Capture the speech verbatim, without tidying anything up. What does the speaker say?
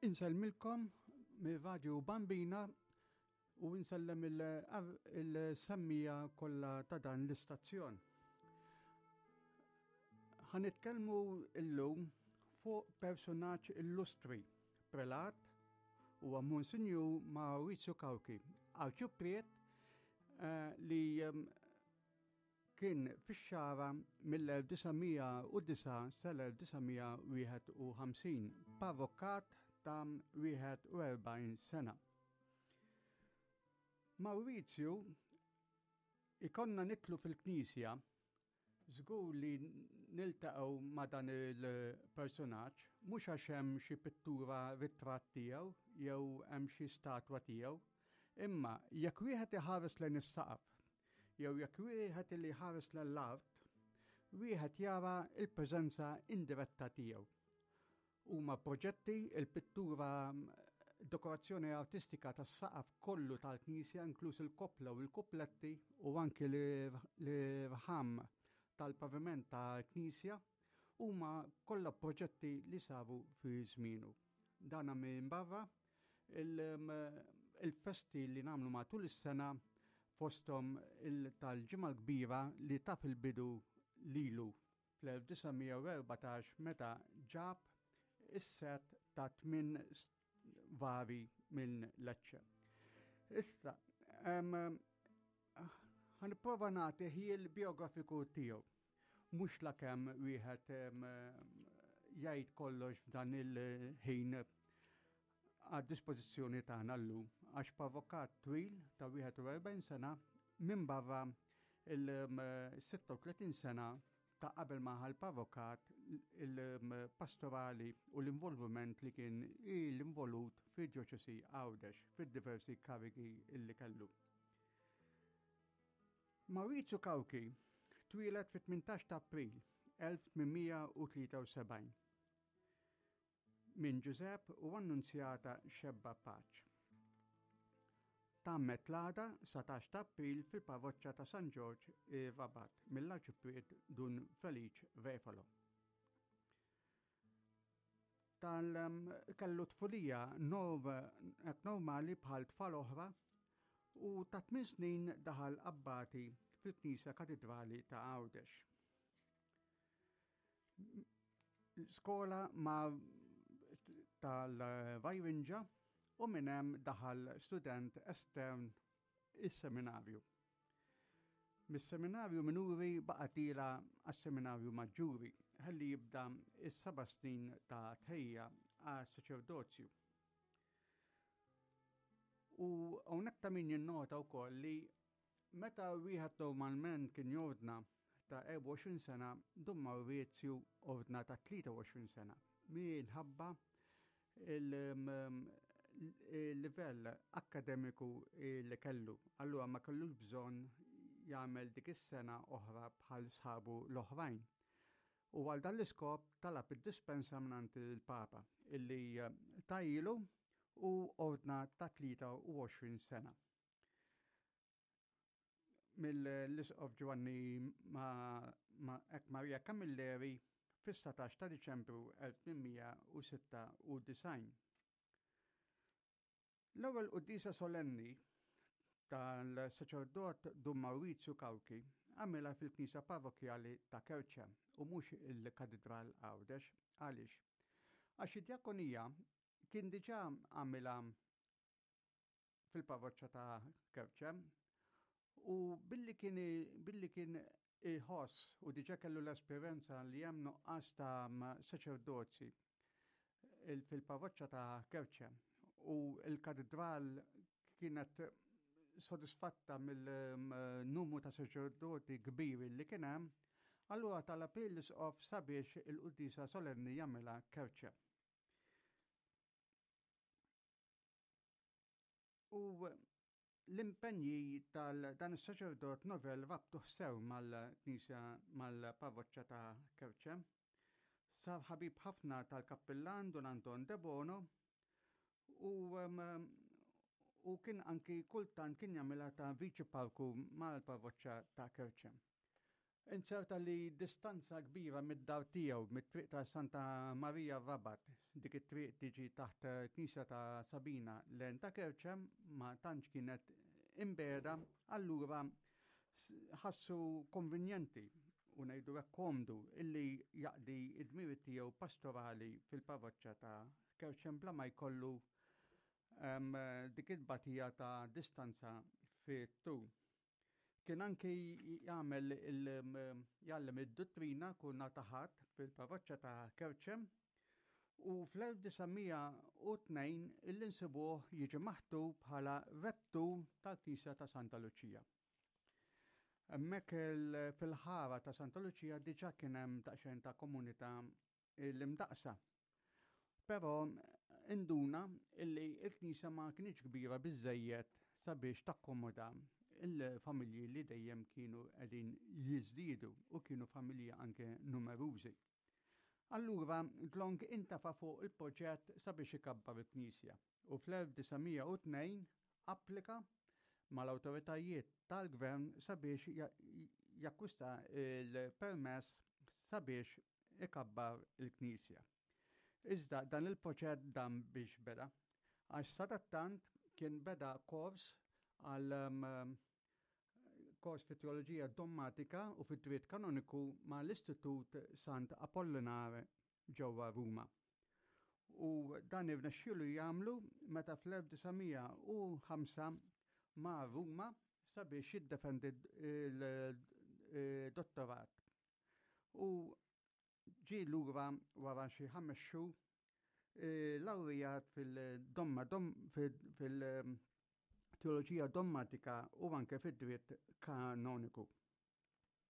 Insellmilkom mir-Radju Bambina u insellem il-semmija kollha ta' dan l-istazzjon. Ħa nitkellmu illum fuq personaġġ illustri, prelat huwa Monsinjur Maurizio Cauchi, arċipriet eh, li ehm, kien fix-Xagħra mill-elf disa' mija u disgħa sal-elf disa' mija wieħed u ħamsin, parrokkat ta' wieħed u erbgħin sena. Maurizio ikonna nitlu fil-knisja, żgur li niltaqgħu ma' dan il-personaġġ, mhux għax hemm xi pittura ritratt tiegħu jew hemm xi statwa tiegħu, imma jekk wieħed iħares lejn is-saqaf jew jekk wieħed li ħares lejn l-art, wieħed jara il-preżenza indiretta tiegħu. Huma proġetti il-pittura, dekorazzjoni artistika tas-saqaf kollu tal-knisja, inkluż il-koppla u l-kupletti u anki l-irħam tal-paviment tal-knisja, huma kollha proġetti li saru fi żmienu. Dana minn barra il-festi li nagħmlu matul is-sena, fosthom tal-Ġimgħa l-Kbira li taf il-bidu lilu fl-elf disa' mija u erbatax meta ġab is-set ta' tmien vari minn Lecce. Issa, em, ħanipprova nagħti ħjiel biografiku tiegħu. Mhux lakemm wieħed, em, jgħid kollox f'dan il-ħin għad dispożizzjoni tagħna llum, għax parrokkat twil ta' wieħed u erbgħin sena minn barra il-sitta u tletin sena ta' qabel ma ħal parrokkat il-pastorali u l-involviment li kien il-involut fid-djoċesi Għawdex fid-diversi karigi illi kellu. Maurizio Cauchi twieled fit-tmintax ta' April elf tmien mija u tlieta u sebgħin minn Giuseppe u Annunzjata Xebba Paċ. Tammet l-għada satax ta' April fil-parroċċa ta' San Ġorġ ir-Rabat mill-Arċipriet Dun Felice Refalo. Tal-, em, kellu tfulija nor-, normali bħal tfal oħra u ta' tmien snin daħal abbati fil-Knisja Katedrali ta' Għawdex. Skola ma' tal-Vajrinġa u minn hemm daħal student estern is-seminarju. Mis-seminarju minuri baqa' tila għas-seminarju maġġuri ħalli jibda is-seba' snin ta' tħejja għas-saċerdozju. U hawnhekk ta' min jinnota wkoll li meta wieħed normalment kien jordna ta' erbgħa u għoxrin sena, Dun Maurizio ordna ta' tlieta u għoxrin sena minħabba il-livell akkademiku li kellu. Allura ma kellux bżonn jagħmel dik is-sena oħra bħal sħabu l-oħrajn. U għal dan l-iskop talab id-dispensa mingħand il-Papa illi tajilu u ordna ta' tlieta u għoxrin sena. Mill-Isqof Giovanni ma-, ma-, Ek Maria Camilleri fis-satax ta' Diċembru elf tmien mija u sitta u disgħin. L-ewwel quddiesa solenni tal-saċerdot Dun Maurizio Cauchi għamilha fil-Knisja Parrokkjali ta' Kerċem u mhux il-Katedral Għawdex. Għaliex? Għax id-djakonija kien diġà għamilha fil-parroċċa ta' Kerċem u billi kien, billi kien iħoss u diġà kellu l-esperjenza li hemm nuqqas ta' saċerdozji il-, fil-parroċċa ta' Kerċem u l-katedral kienet sodisfatta mill-numru ta' saċerdoti kbir li kien hemm, allura talab l-isqof sabiex il-quddiesa solenni jagħmilha Kerċem. U l-impenji tal-dan is-saċerdot novel rabtuh sew mal-knisja mal-parroċċa ta' Kerċem. Sar ħabib ħafna tal-kappillan Dun Anton Debono u, em, u kien anki kultant kien jagħmilha ta' viċi parku mal-parroċċa ta' Kerċem. Inzerta li distanza kbira mid-dar tiegħu, mit-triq ta' Santa Marija Rabat, dik it-triq tiġi taħt knisja ta' Sabina lejn ta' Kerċem, ma tantx kienet imbiegħda, allura ħassu konvenjenti u ngħidu hekk komdu illi jaqdi id-dmiri tiegħu pastorali fil-parroċċa ta' Kerċem bla ma jkollu dik it-tbatija ta' distanza fit-tul. Kien anki jagħmel jgħallem id-dottrina kull nhar ta' Ħadd fil-parroċċa ta' Kerċem u fl-elf disa' mija u tnejn illi nsibuh jiġi maħtur bħala rettur tal-Knisja ta' Santa Luċija. Hemmhekk fil-ħara ta' Santa Luċija diġà kien hemm daqsxejn ta' komunità l-imdaqsa. Però induna illi il-knisja ma kienx kbira biżejjed sabiex takkomoda il-familji li dejjem kienu qegħdin jiżdiedu u kienu familji anke numerużi. Allura dlonk intafa fuq il-proġett sabiex ikabbar il-knisja u fl-elf disa' mija u tnejn applika mal-awtoritajiet tal-gvern sabiex jakkwista il-permess sabiex ikabbar il-knisja. Iżda dan il-proġett dam biex beda, għax sadattant kien beda kors għal um, kors fit teoloġija dommatika u fit dritt kanoniku ma l-Istitut Sant Apollinare ġewwa Ruma. U dan irnexxielu jagħmlu meta fl-elf disa' mija u ħamsa mar Ruma sabiex jiddefendi il-dottorat. U ġie lura wara xi ħames xhur eh, lawrijat fil-domma fil-teoloġija dommatika u anke fid-dritt kanoniku.